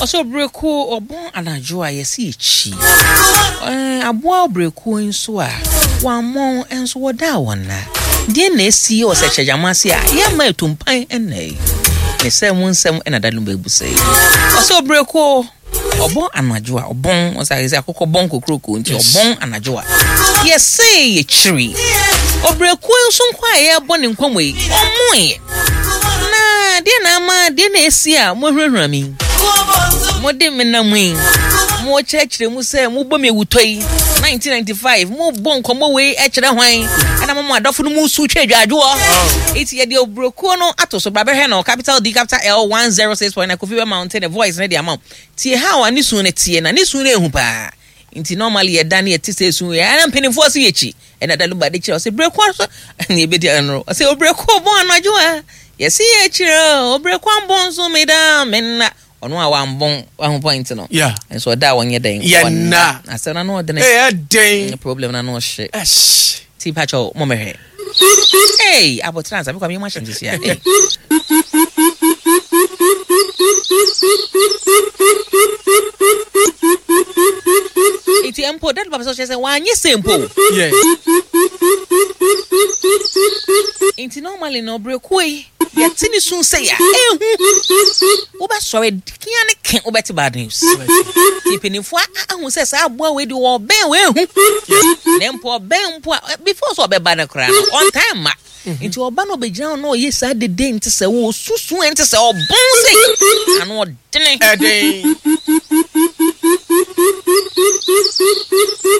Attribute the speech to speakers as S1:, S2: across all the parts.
S1: Ɔsɛ ɔbrɛkuo ɔbɔn anadwo a yɛsi akyi. Ɛɛ aboa ɔbrɛkuo nso a wammɔn nso wɔdaa wɔn nna. Deɛ na esi wɔ sɛ kyɛgyama ase a yɛmma etumpan ɛnna yi. Ne sɛ mu nsɛm ɛna da no bɛbu sɛ yi. Ɔsɛ ɔbrɛkuo ɔbɔn anadwo a ɔbɔn ɔsɛ ayɛ sɛ akokɔ bɔn kokuroko nti ɔbɔn anadwo a yɛsɛ yɛkyiri. Ɔbrɛkuo nso nko a yɛrebɔ ne nkɔmmɔ yi ɔmmoeɛ. Na deɛ na ama deɛ na esi a moahurahura me yi mode me nam yi mokyerɛkyerɛ mu sɛ mobɔ me awutɔ yi 1995 mobɔ nkɔmmɔ wei kyerɛ hwan ɛna mo mo adɔfo no mu su twa adwadwoɔ eti yɛde oburokuo no ato so bra bɛhwɛ no capital D capital L 106.9 Kofi bɛ mountain the voice ne de ama wo tie how a ne su no teɛ na ne su no ehu paa nti normally yɛda ne yɛte sɛ esu yɛ ɛna mpanimfoɔ so yɛkyi Ɛna Daluba de kyerɛ ɔsɛ breko aso ne ebedi ano ɔsɛ obreko bɔn anadwo a yɛsi yɛ kyerɛ obreko ambɔn nso me da me nna ɔno a wambɔn wahu point no
S2: yeah
S1: nso ɔda a wɔnyɛ dɛn
S2: yɛnna
S1: asɛm na no ɔdene
S2: ɛyɛ den
S1: problem na no ɔhye
S2: ɛhye
S1: ti pakyɛw mo mɛhwɛ hey abotire ansa mekɔ meyɛ mo ahyɛ nsisi a hey Nti mpo dad papa sɛ ɔkyerɛ sɛ wanyɛ sɛ mpo.
S2: Yes.
S1: Nti normally no ɔbrɛkuo yi yɛte ne sun sɛ ya ehu wobɛsɔre kia ne ke wobɛte bad news. Nti mpanimfoɔ ahu sɛ saa aboa wei de ɔbɛn wei ehu na mpo ɔbɛn mpo a before sɛ ɔbɛba no koraa no ɔntaa mma. Nti ɔba na ɔbɛgyina hɔ na ɔyɛ saa dede nte sɛ ɔsusu nte sɛ ɔbɔn sɛ ano ɔdene.
S2: Ɛden.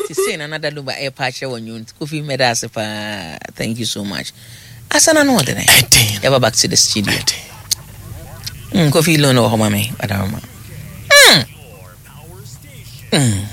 S1: Te sei na Nana Lumba ɛrepa akyerɛ wɔ nnwom nti Kofi mɛda ase paa thank you so much. Asa na no ɔdene.
S2: Ɛden.
S1: Yɛba back to the studio.
S2: Ɛden.
S1: Kofi loan wɔ hɔ ma me Adaroma. Mm. Mm.